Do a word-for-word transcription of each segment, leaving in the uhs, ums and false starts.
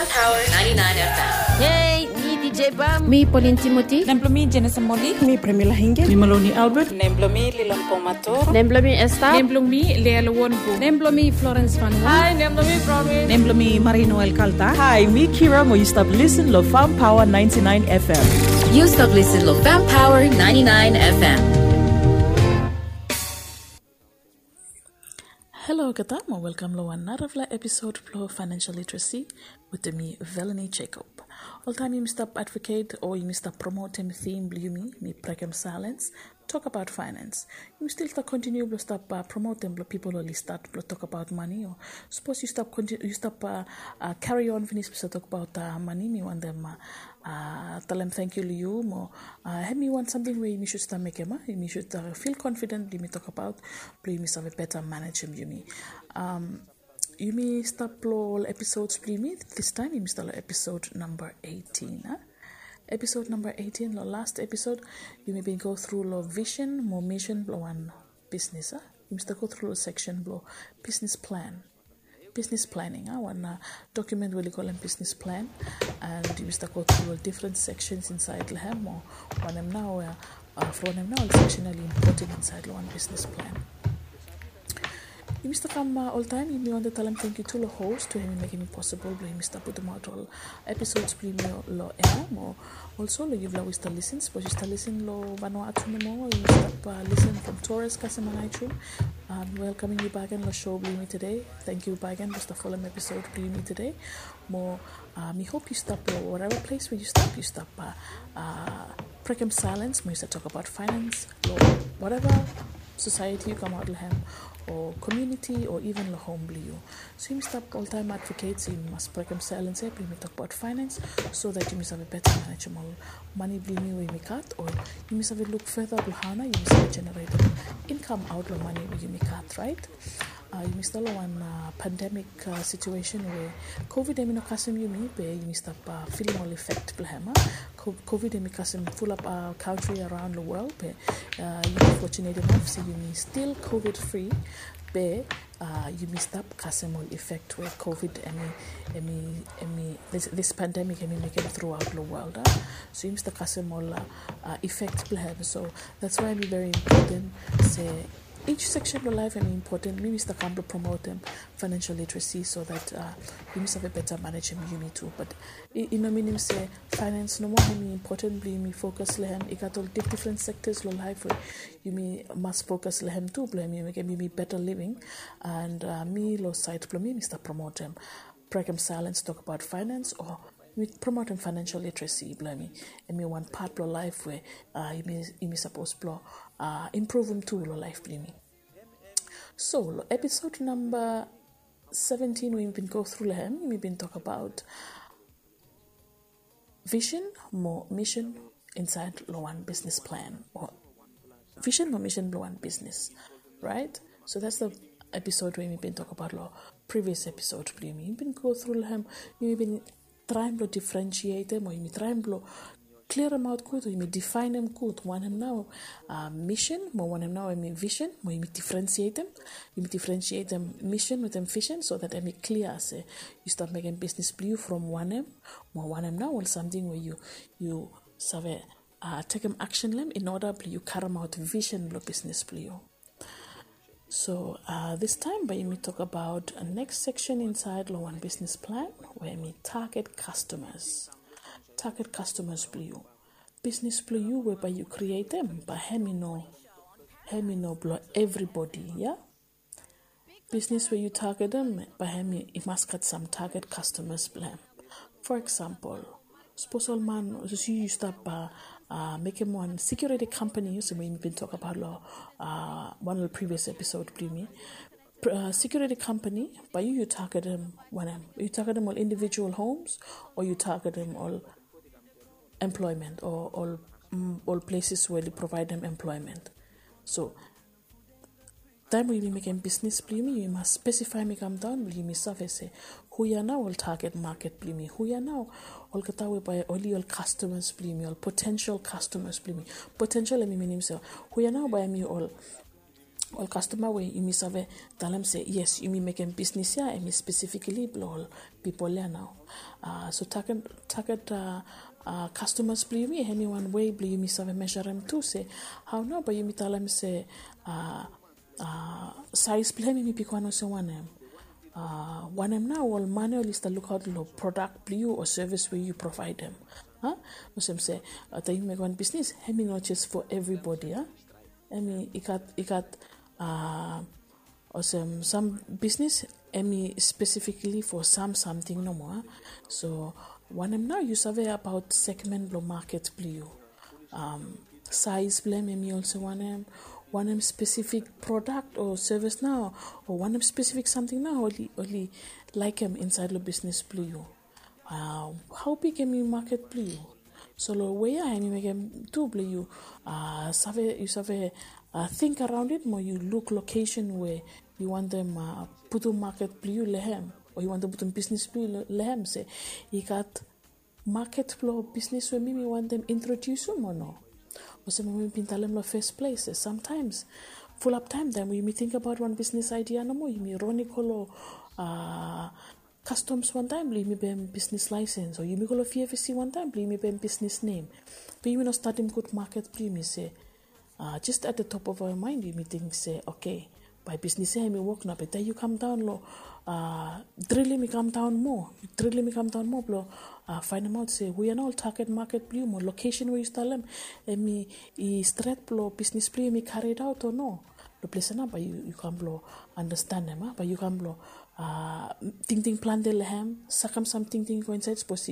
Power ninety-nine F M. Hey, mi D J Bam. Mi Pauline Timothy. Nem blo mi Jenesa Moli. Mi Premila Hinge. Mi Maloni Albert. Nem blo mi Lilon Pomator. Nem blo mi Esther. Nem blo mi Lea Lewonku. Nem blo mi Florence Van Wall. Hi, nem blo mi Promise. Nem blo mi Marie Noel Calta. Hi, mi Kira mo yu stap listen lo Farm Power ninety-nine F M. Yu stap listen lo Farm Power ninety-nine F M. Halo olgeta mo welkam lo wan narafala episod blo Financial Literacy wetem mi, Velanie Jacob. Oltaem yumi stap advocate o yumi stap promotem theme blo yumi, mi brekem silence, tokbaot finance. Yumi stil stap kontiniu blo stap, uh, promotem blo pipol oli stat blo tokbaot mane o sapos yu stap konti-, yu stap, uh, uh, carry on finis blo stap tokbaot, uh, mane, mi wantem, uh, uh, talem tangkiu lo yu mo, uh, hemi wan samting we yumi sud stap mekem, a? Yumi sud, uh, feel confident blo yumi tokbaot, blo yumi save beta manejem yumi. Um, yumi stap lo ol episods blo yumi, this time yumi stap lo episode number eighteen, a? Episode number eighteen, lo last episode, yumi bin go through lo vision mo mission blo wan business, a? Yumi stap go through lo section blo business plan. Business planning, a, wan, uh, document we oli kolem business plan. And yumi stap go through lo different sections inside lo hem, o wanem nao, uh, uh, from wanem nao ol section oli important inside lo wan business plan. Yumi stap kam, uh, oltaem, yumi wantem talem tangkiu tu lo host we hemi mekem possible blo yumi stap putumaot ol episods blo yumi lo air, mo also lo yufala we stap listen, sapos yu stap listen lo Vanuatu nomo, yu stap, uh, listen from Torres kasem Aneityum. Um, welkamem yu bakegen lo show blo yumi tede. Tangkiu bakegen blo stap folem episod blo yumi tede. Mo, uh, mi hop yu stap lo whatever place we yu stap, yu stap, uh, uh, brekem silence mo yu stap tokbaot finance lo whatever society yu kamaot lo hem, o community, o even lo home blo yu. So yumi stap oltaem advocate se yumi mas brekem silence ia blo yumi tokbaot finance, so that yumi save beta manejem ol mane blo yumi we yumi gat, o yumi save luk further blo hao nao yumi save generatem income aot lo mane we yumi gat, right? Uh, yumi stap lo wan, uh, pandemic, uh, situation we COVID hemi no kasem yumi, be yumi stap, uh, filim ol effect blo hem, a? Co-, COVID hemi kasem fulap, uh, country around lo world, be, uh, yumi fortunate enough se yumi still COVID free, be, uh, yumi stap kasem ol effect we COVID hemi, hemi, hemi, this, this pandemic hemi mekem throughout lo world, a? So yumi stap kasem ol, uh, uh, effect blo hem. So that's why hemi very important se each section blo life hemi important. Mi mi stap kam blo promotem financial literacy so that, uh, yumi save beta manejem yumi tu. But i, i no minim se finance nomo hemi important blo yumi focus lo hem. I gat ol dif-, different sectors lo life we yumi mas focus lo hem tu blo hemi mekem yumi better living. And, uh, mi lo side blo mi, mi stap promotem, brekem silence, tokbaot finance, o mi promotem financial literacy blo yumi. Hemi wan part blo life we, uh, yumi, yumi sapos blo, uh, improvem tu lo life blo yumi. So lo episode number seventeen we yumi bin go through lo hem, yumi bin tokbaot vision mo mission inside lo wan business plan, o vision mo mission blo wan business, right? So that's the episode we yumi bin tokbaot lo previous episode blo yumi. Yumi bin go through lo hem, yumi bin traem blo differentiatem, o yumi traem blo clearem aot gud, o yumi defineem gud wanem nao, uh, mission, mo wanem nao hemi vision, mo yumi differentiatem. Yumi differentiatem mission wetem vision so that hemi clear se yu stap mekem business blo yu from wanem, mo wanem nao ol samting we yu, yu save, uh, tekem action lo hem in order blo yu karemaot vision blo business blo yu. So, uh, this time bae yumi tokbaot next section inside lo wan business plan, we hemi target customers. Target customers blo yu. Business blo yu we bae yu createm, bae hemi no, hemi no blo everybody, ia? Business we yu targetem, bae hemi, i mas gat sam target customers blo hem. For example, sapos ol man, sapos yu, yu stap, uh, uh, mekem wan security company, olsem we yumi bin tokbaot lo, uh, wan lo previous episode blo yumi. Pr-, uh, security company, bae yu, yu targetem wanem? Yu targetem ol individual homes, o yu targetem ol employment, o ol, mm, ol places we oli provaedem employment? So, taem we yumi mekem business blo yumi, yumi mas specify, mi kam daon, blo yumi save se hu ia nao ol target market blo yumi, hu ia nao olgeta we bae oli ol customers blo yumi, ol potential customers blo yumi. Potential hemi minim se hu ia nao bae hemi ol ol kastoma we yumi save talem se yes, yumi mekem bisnis ya, hemi spesifikali blong ol pipol ya nao. So target, target kastomas blong yumi, hemi wan wei blong yumi save mesurem tu se hao nao bae yumi talem se sais blong hem hemi bigwan olsem wanem. Wanem nao ol man ya oli stap lukaot long prodak blong yu o sevis we yu provaedem. Olsem se taem yumi mekem wan bisnis, hemi no jes fo evribodi. Hemi i gat, i gat olsem sam bisnis hemi spesifikali fo sam samting nomo. So wanem nao yu save abaot segmen blong maket blong yu. Sais blong hem hemi olsem wanem, wanem spesifik prodak o sevis nao, o wanem spesifik samting nao oli, oli laekem insaed long bisnis blong yu. Hao big hemi maket blong yu. So long wei ya hemi mekem tu blong yu save, yu save ting araon it mo yu luk lokesen we yu wantem putum maket blong yu long hem, o yu wantem putum bisnis blong yu long hem, se i gat maket blong bisnis we mi, mi wantem introdiusim o no. Olsem we mi bin talem long fes ples, samtaems, fulap taem, taem we yumi tingbaot wan bisnis aedia nomo, yumi ron i go long kastoms wantaem blong yumi bae hem bisnis laesens, o yumi go long V F C wantaem blong yumi bae hem bisnis nem. Be yumi no stadim gud maket blong yumi se, jes at the top of our mind yumi ting se, oke, bae bisnis ya hemi wok nao. Be taem yu kamdaon long, drilim i kamdaon moa, drilim i kamdaon moa blong faenemaot se hu ya nao ol target maket blong yu mo lokesen we yu talem hemi stret blong bisnis blong yu hemi karidaot o no. Long ples ya nao bae yu kam blong andastanem, bae yu kam blong tingting plante long hem, sakem sam tingting i go insaed. Sapos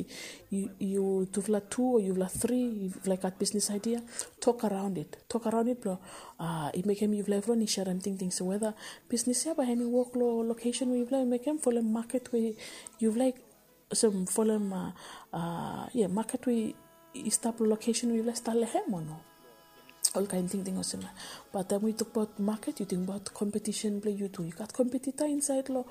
yu, yufala tu o yufala tri, yufala i gat bisnis aedia, tok araon it, tok araon it blong i mekem yufala evriwan i serem tingting se weda bisnis ya bae hemi wok long lokesen we yufala i mekem, folem maket we yufala i, olsem folem, ia, maket we i stap long lokesen we yufala i stap long hem o no. Olkaen tingting olsem ya. Be taem we yu tokbaot maket, yu tingbaot kompetisen blong yu tu. Yu gat kompetita insaed long,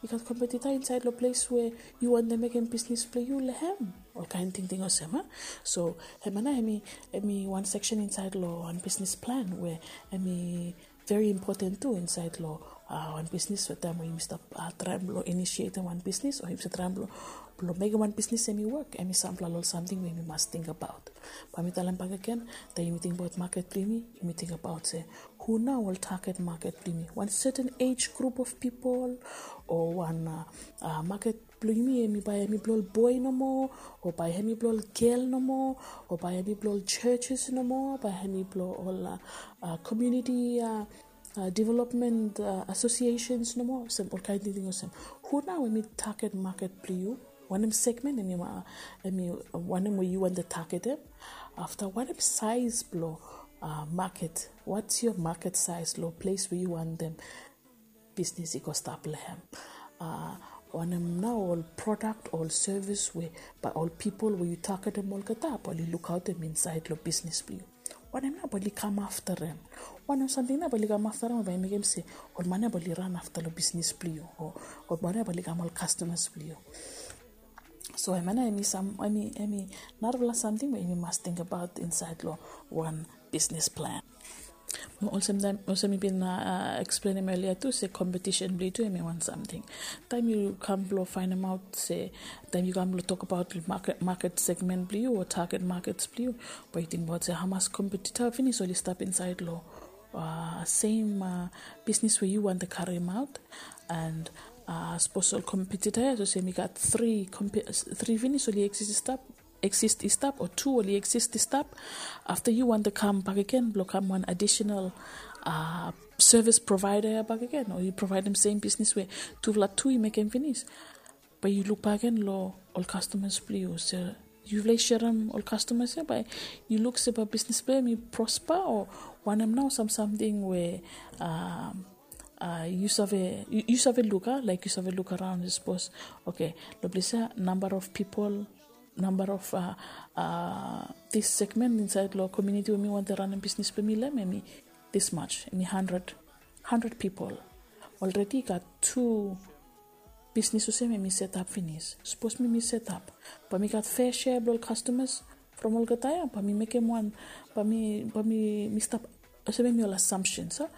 yu gat kompetita insaed long ples we yu wantem mekem bisnis blong yu long hem. Olkaen tingting olsem ya. So hemia nao hemi, hemi wan seksen insaed long wan bisnis plan we hemi veri impoten tu insaed long wan bisnis. So taem we yumi stap traem blong inisietem wan bisnis o yumi stap traem blong, blong mekem wan bisnis hemi wok, hemi sampela long ol samting we yumi mas tingbaot. Bae mi talem bakegen, taem yumi tingbaot maket blong yumi, yumi tingbaot se hu nao ol target maket blong yumi. Wan seten ej grup of pipol, o wan maket blong yumi hemi bae hemi blong ol boe nomo, o bae hemi blong ol gel nomo, o bae hemi blong ol churches nomo, bae hemi blong ol community development associations nomo, olsem olkaen tingting olsem. Hu nao hemi target maket blong yu? Wanem segmen hemi, hemi wanem we yu wantem targetem? Afta wanem saes blong maket? What's your market size long ples we yu wantem bisnis i go stap long hem? Wanem nao ol prodak, ol sevis we bae ol pipol we yu targetem olgeta bae oli lukaotem insaed long bisnis blong yu? Wanem nao bae oli kam aftarem? Wanem samting nao bae oli kam aftarem bae i mekem se ol man ya bae oli ran afta long bisnis blong yu, o ol man ya bae oli kam ol kastomas blong yu? So hemia nao hemi sam, hemi, hemi narafala samting we yumi mas tingbaot insaed long wan bisnis plan. Mo olsem taem, olsem mi bin eksplenem elia tu se kompetisen blong yu tu hemi wan samting. Taem yu kam blong faenemaot se, taem yu kam blong tokbaot maket, maket segmen blong yu o target makets blong yu, bae yu tingbaot se hamas kompetita finis oli stap insaed long sem bisnis we yu wantem karemaot. And sapos ol kompetita ya, so se mi gat tri, tri finis oli eksis i stap, eksis i stap, o tu oli eksis i stap. Afta yu wantem kam bakegen blong kam wan adisenal sevis provaeda ya bakegen, o yu provaedem sem bisnis we tufala tu i mekem finis, bae yu luk bakegen long ol kastomas blong yu se yufala i serem ol kastomas ya, bae yu luk se bae bisnis blong hem i prospa, o wanem nao sam samting we yu save, yu save luk, a, laek yu save luk araon, sapos, oke, long ples ya namba of pipol, namba of dis segmen insaed long komuniti we mi wantem ranem bisnis blong mi long hem, hemi dismas, hemi handred, handred pipol. Olredi i gat tu bisnis olsem hemi setap finis. Sapos mi, mi setap, bae mi gat fea sea blong ol kastomas from olgeta ya, bae mi mekem wan, bae mi, bae mi, mi stap olsem hemi ol assumptions, a.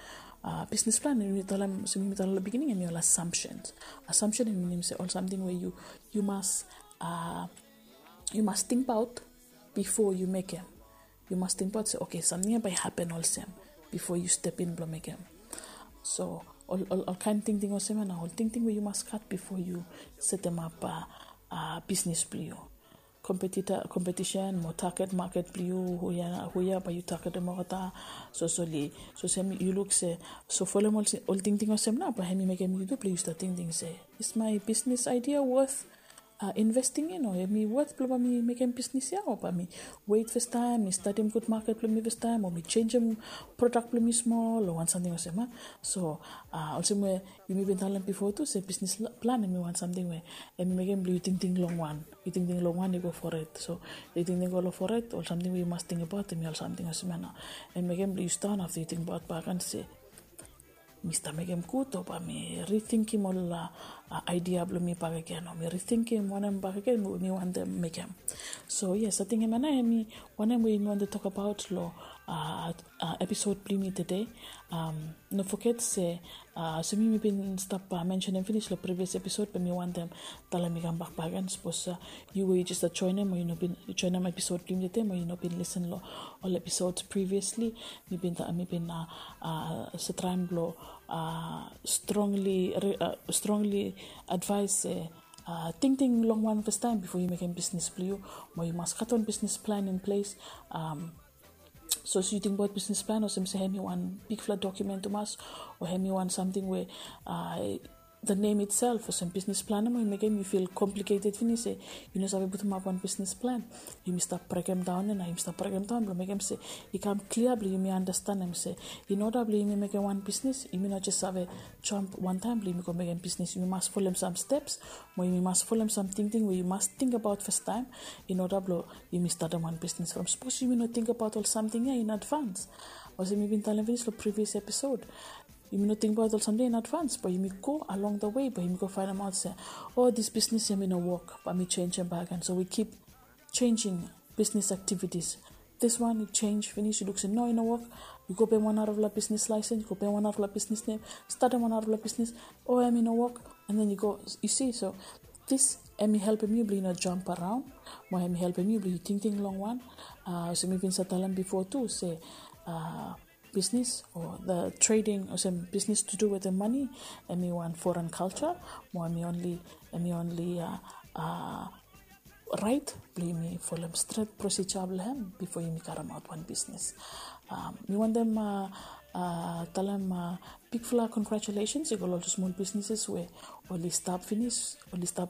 Uh, business plan, hemi talem, olsem hemi talem lo beginning, hemi ol assumptions. Assumption hemi minim se ol samting we yu, yu mas, uh, yu mas tingbaot bifo yu mekem. Yu mas tingbaot se, okay, samting ia bae i hapen olsem bifo yu step in blo mekem. So ol, ol, ol kaen tingting olsem ia nao ol tingting we yu mas gat bifo yu setemap, uh, uh, bisnis blo yu. Kompetita, kompetisen mo target market blo yu, hu ia, hu ia bae yu targetem olgeta. So, so oli, so olsem yu luk se, so folem ol, ol tingting olsem nao bae hemi mekem yu tu blo yu stap tingting se, is my business idea worth, uh, investing in, o hemi worth blo bae mi mekem bisnis ia, o bae mi wet fastaem, mi stadim gud maket blo mi fastaem, o mi jenjem prodak blo mi smol, o wan samting olsem, a. So, uh, olsem we yumi bin talem bifo tu se bisnis plan hemi wan samting we hemi mekem blo yu tingting longwan. Yu tingting longwan, yu go fored. So yu tingting go lo fored, ol samting we yu mas tingbaot hemi ol samting olsem ia nao. Hemi mekem blo yu sidaon afta yu tingbaot bakegen se, mi stap mekem gud, o bae mi ritingim ol, uh, uh, idea blo mi bakegen, o mi ritingim wanem bakegen we mi wantem mekem. So yes, ating hemia nao hemi wanem we yumi wantem tokbaot lo, uh, uh, episod blo yumi tede. Um, no foget se, uh, olsem yumi bin stap, uh, mensenem finis lo previous episod, be mi wantem talem mi kambak bakegen, sapos, uh, yu we yu jes stap joenem, o yu no bin joenem episod blo yumi tede, o yu no bin lisen lo ol episod previously, mi bin ta-, mi bin, uh, uh, save traem blo, uh, strongly, uh, strongly advise se, uh, tingting longwan fastaem bifo yu mekem bisnis blo yu, mo yu mas gat wan business plan in place. Um, so sapos yu tingbaot business plan olsem se hemi wan bigfala document tumas, o hemi wan samting we, uh, the name itself olsem business plan, mo i mekem yu feel complicated finis se yu no save putumap wan business plan. Yumi stap brekemdaon ia nao, yumi stap brekemdaon blo mekem se i kam klia blo yumi andastanem se in order blo yumi mekem wan bisnis, yumi no jes save jump wantaem blo yumi go mekem bisnis. Yumi mas folem sam steps, mo yumi mas folem sam tingting we yu mas tingbaot fastaem in order blo yumi statem wan bisnis. From sapos yumi no tingbaot ol samting ia in advance, olsem mi bin talem finis lo previous episod, yumi no tingbaot ol samting in advance, bae yumi go along the way, bae yumi go faenemaot se, o, this business ia hemi no wok, bae mi jenjem bakegen. So we keep changing business activities. This one, yu jenj finis, yu luk se no, i no wok, yu go peim wan narafala business license, yu go peim wan narafala business name, statem wan narafala business, o, hemi no wok, and then yu go, yu si. So this hemi helpem yu blo yu no jump around, mo hemi helpem yu blo yu tingting longwan. Uh, olsem mi bin save talem bifo tu se, uh, business o the trading, olsem business to do wetem mane, hemi wan foreign culture, mo hemi only, hemi only, uh, uh, raet blo yumi folem stret procedure blo hem bifo yumi karemaot wan bisnis. Um, mi wantem, uh, uh, talem, uh, bigfala congratulations i go lo ol tu smol businesses we oli stap finis, oli stap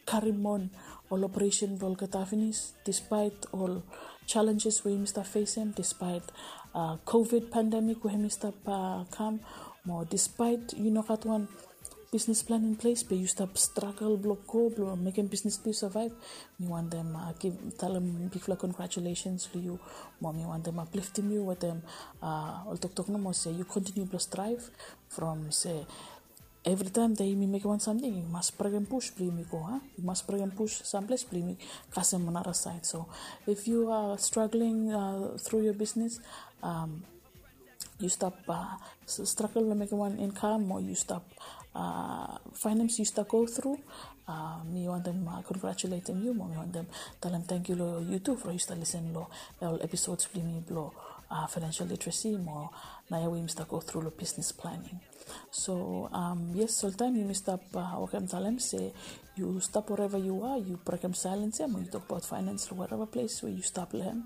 karim on ol operation blo olgeta finis, despite ol challenges we yumi stap fesem, despite, uh, COVID pandemic we hemi stap, uh, kam, mo despite yu no gat wan business plan in place, be yu stap struggle blo go, blo mekem business blo yu survive. Mi wantem, uh, give, talem bigfala congratulations lo yu, mo mi wantem upliftem yu wetem, uh, ol toktok nomo se yu continue blo strive from se Evri taem that yumi mekem wan samting, yumi mas brekem bush blo yumi go, a? Yumi mas brekem bush samples blo yumi kasem nara saed. So if you are struggling, uh, through your business, um, yu stap, uh, s-, struggle lo mekem wan income, o yu stap, uh, finance yu stap go through, uh, mi wantem, uh, congratulatem yu, mo mi wantem talem tangkiu lo yu tu from yu stap lisen lo ol episodes blo yumi blo, uh, financial literacy, mo naoia we yumi stap go through lo business planning. So, um, yes, oltaem yumi stap, uh, wokem talem se yu stap wherever you are, yu brekem silence ia mo yu tokbaot finance lo wherever ples we yu stap lo hem.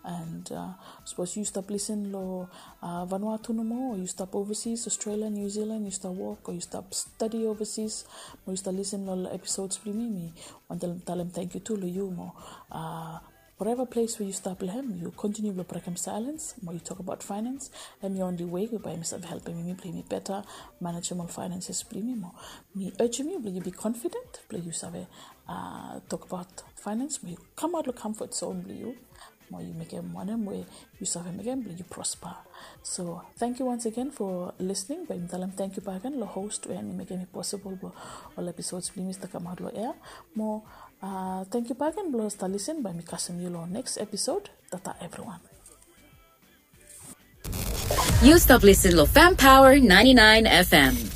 And, uh, sapos yu stap lisen lo, uh, Vanuatu nomo, o yu stap overseas, Australia, New Zealand, yu stap wok, o yu stap stadi overseas, mo yu stap lisen lo ol episodes blo yumi, mi wantem talem tangkiu tu lo yu mo, uh, whatever ples we yu stap lo hem, yu kontiniu blo brekem silence mo yu tokbaot finance. Hemi only way we bae yumi save helpem yumi blo yumi beta manejem ol finances blo yumi mo. Mi urgem yu blo yu be confident blo yu save, uh, tokbaot finance mo yu kamaot lo comfort zone blo yu, mo yu mekem wanem we yu save mekem blo yu prosper. So tangkiu once again for listening. Bae mi talem tangkiu bakegen lo host we hemi mekem i possible blo ol episodes blo yumi stap kamaot lo air. Mo, uh, tangkiu bakegen blo stap lisen. Bae mi kasem yu lo next episode. Tata evriwan. Yu stap lisin lo Fam Power ninety-nine F M.